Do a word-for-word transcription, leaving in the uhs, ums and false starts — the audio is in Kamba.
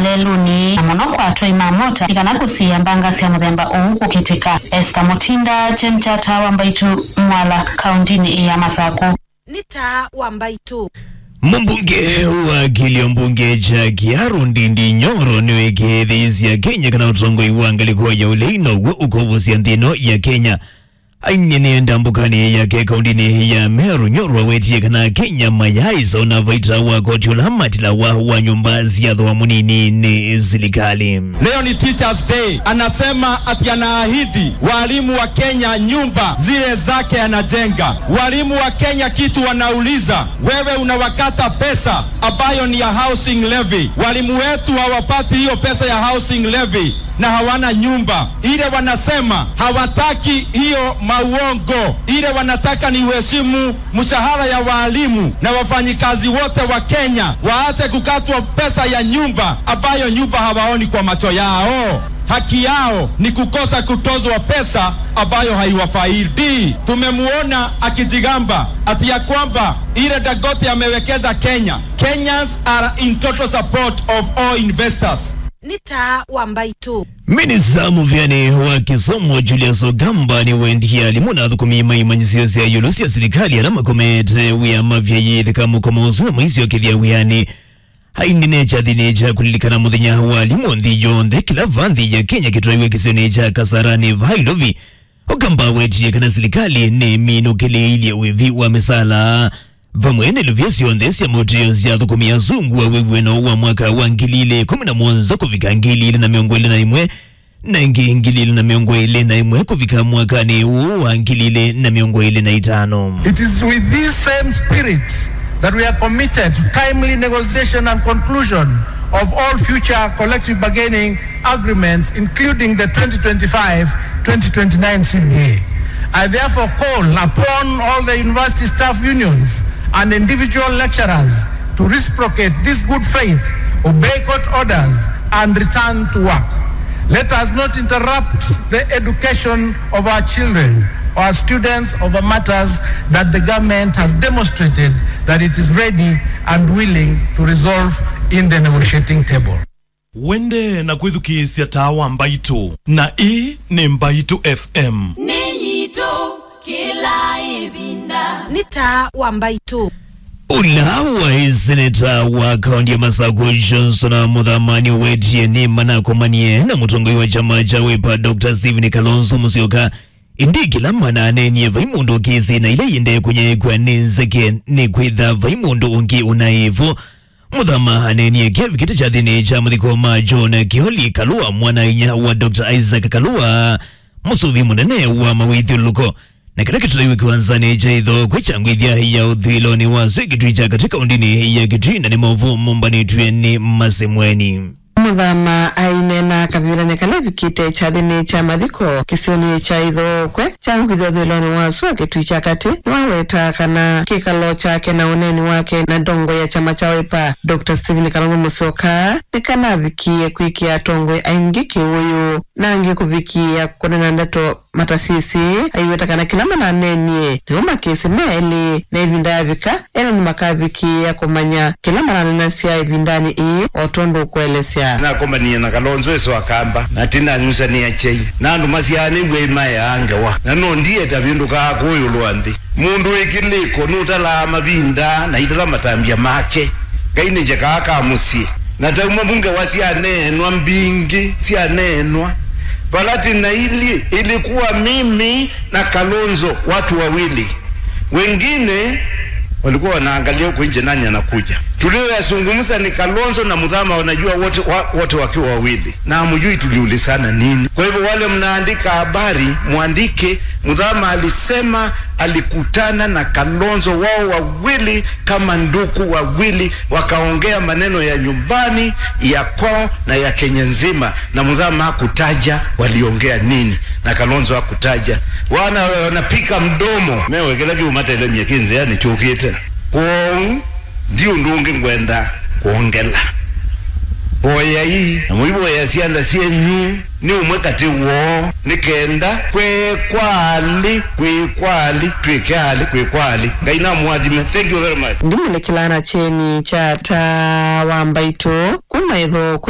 lelũnĩ, na mũno kwa atwai ma mota, nĩ kana kũsiĩĩa mbanga sya mũthemba ũũ kũkĩtĩka. Esther Mutinda, Kyeni kya Taa wa Mbaitũ, Mwala, kaũntĩnĩ ya Masakũ. Nĩ Taa wa Mbaitũ. Mũmbunge wa kĩlio mbunge kya Kiharu Ndindi Nyoro nĩwĩkĩĩthĩisye Akenya kana ũtongoi wa ngalĩko ya ũlei now'o ũkũvusya nthĩ ĩno ya Kenya. Aineena ndambũkanĩ yake kaũntĩnĩ ya Meru, Nyoro awetie kana Akenya mayaaĩsa ona vaita wa koti ũla matilawa wa nyũmba sya thooa mũnini nĩ silikalĩ. Leo ni Teachers Day. Anasema ati anaahidi walimu wa Kenya nyumba zile zake anajenga. Walimu wa Kenya kitu wanauliza, wewe unawakata pesa ambayo ni ya housing levy. Walimu wetu hawapati hiyo pesa ya housing levy na hawana nyumba. Ile wanasema hawataki hiyo mauongo. Ile wanataka ni uheshimu mshahara ya walimu na wafanyikazi wote wa Kenya, waache kukatwa pesa ya nyumba ambayo nyumba hawaoni kwa macho yao. Haki yao ni kukosa kutozwa pesa ambayo haiwafaidi. Tumemuona akijigamba ati ya kwamba ile Dangote amewekeza Kenya. Kenyans are in total support of all investors. Nĩ Taa wa Mbaitũ. Minista mũvĩanĩ wa kĩsomo Julius Ogamba nĩwendie alimũ na athũkũmi ma imanyĩsyo sya ĩũlũ sya silikalĩ ala makomete wĩa mavyaĩĩthĩka mũkomo ũsu na maisyokethya wĩanĩ. Aineena kyathĩnĩ kya kũlilikana mũthenya wa alimũ nthĩ yonthe, kĩla va nthĩ ya Kenya kĩtwaiwe kĩsionĩ kya Kasarani va Ilovi, Ogamba awetie kana silikalĩ nĩminũkĩlĩĩilye wĩvi wa mĩsaala vamwe na iluvya syonthe sya maũtĩo sya athũkũmi asungu a wĩw'ano wa mwaka wa ngili ilĩ kũmi na mũonza kũvika ngili ilĩ na mĩongo ĩlĩ na ĩmwe, na ĩngĩ ngili ilĩ na mĩongo ĩlĩ na ĩmwe kũvika mwakanĩ ũũ wa ngili ilĩ na mĩongo ĩlĩ na itano. It is with this same spirit that we are committed to timely negotiation and conclusion of all future collective bargaining agreements, including the twenty twenty-five twenty twenty-nine C B A. I therefore call upon all the university staff unions and individual lecturers to reciprocate this good faith, obey court orders, and return to work. Let us not interrupt the education of our children, our students, over matters that the government has demonstrated that it is ready and willing to resolve in the negotiating table. Wende na kwĩthukĩĩsya Taa wa Mbaitũ, na ĩĩ nĩ Mbaitũ F M. Nĩ yitũ kĩla ĩvinda. Nĩ Taa wa Mbaitũ. Ũla waĩ seneta wa kaũntĩ ya Masakũ, Johnson Muthama, nĩwetie nĩ manakomanie na mũtongoi wa kyama kya Wiper, Doctor Stephen Kalonzo Musyoka. Ĩndĩ kĩla mananeenie, vai mũndũ ũkĩsĩ na ila iendee kũnyaĩĩkw'a nĩ nzeke, nĩ kwĩtha vai mũndũ ũngĩ ũnaĩ vo. Muthama aneenie kĩavikĩte kyathĩnĩ kya mathiko ma John Kioli Kalua, mwana-a-inyia wa Doctor Isaac Kalua, mũsuvi mũnene wa mawĩthyũlũlũko, na kĩla kĩtũlaiwe kĩwanzanĩ kya Ithokwe kya ngwĩthya ya ũthũĩlonĩ wa Sui Kitui kya katĩ kaũndĩnĩ ya Kitui, na nĩ maũvoo mombanĩtw'e nĩ Masemweni. Muthama aineena kavindanĩ kala evikĩte kyathĩnĩ kya mathiko kĩsionĩ kya Ithokwe kya ngwĩthya ũthũĩlonĩ wa Sua Kitui kya katĩ, nĩwaweta kana kĩkalo kyake na ũneeni wake na ndongoi ya kyama kya Wiper, Doctor Stephen Kalonzo Musyoka, nĩkanavikie kwĩkĩa atongoi aingĩ kĩwũyũ, na angĩ kũvikĩĩa kũneena ndeto matasisĩ, aiweta kana kĩla mananeenie nĩmo makĩsĩ me elĩ, na ĩvinda yavika, ene nĩmakavikĩĩa kũmanya kĩla mananenasya ĩvindanĩ ĩĩ, o tondũ ũkũelesya. Nakomanie na Kalonzo ĩso akamba, na tinanyusanĩa kyai, na andũ masyaanĩw'e imaeaa ngewa, na no ndieta vĩndũkaa kũũ ĩũlũ wa nthĩ. Mũndũ wĩ kĩlĩko nũtalaa mavinda na itala matambya make. Ngai nĩ njekaa ka mũsyĩ. Na tauma vu ngewa syaneenwa mbingĩ, syaneenwa. Vala tĩna ilyĩ, ilikuwa mimi na Kalonzo, watu wawili. Wengine walikuwa wanaangalia huko nje nani anakuja. Tulioyazungumza ni Kalonzo na Muthama, wanajua wote, wa-, wote wakiwa wawili. Na hamjui tuliulizana nini. Kwa hivyo wale mnaandika habari, mwandike, Muthama alisema alikutana na Kalonzo, wao wawili kama ndugu wawili, wakaongea maneno ya nyumbani, ya kwao na ya Kenya nzima, na Muthama hakutaja waliongea nini, na Kalonzo hakutaja. Wana wanapika mdomo. Mewe kĩla kĩumatelemya kĩ nzĩanĩ kyũkĩte. Kwoou, ndi ũndũ ũngĩ ngwenda kwongela. Voyai, na mũivoya syanda syenyu nĩ ũmwe katĩ woo, nĩ kenda kwĩ kwa alĩ, kwĩ kwa alĩ, twĩke alĩ, kwĩ kwa alĩ. Ngai namũathime. Thank you very much. Ndimũnĩkĩlaa na kyeni kya Taa wa Mbaitũ kuma Ithokwe.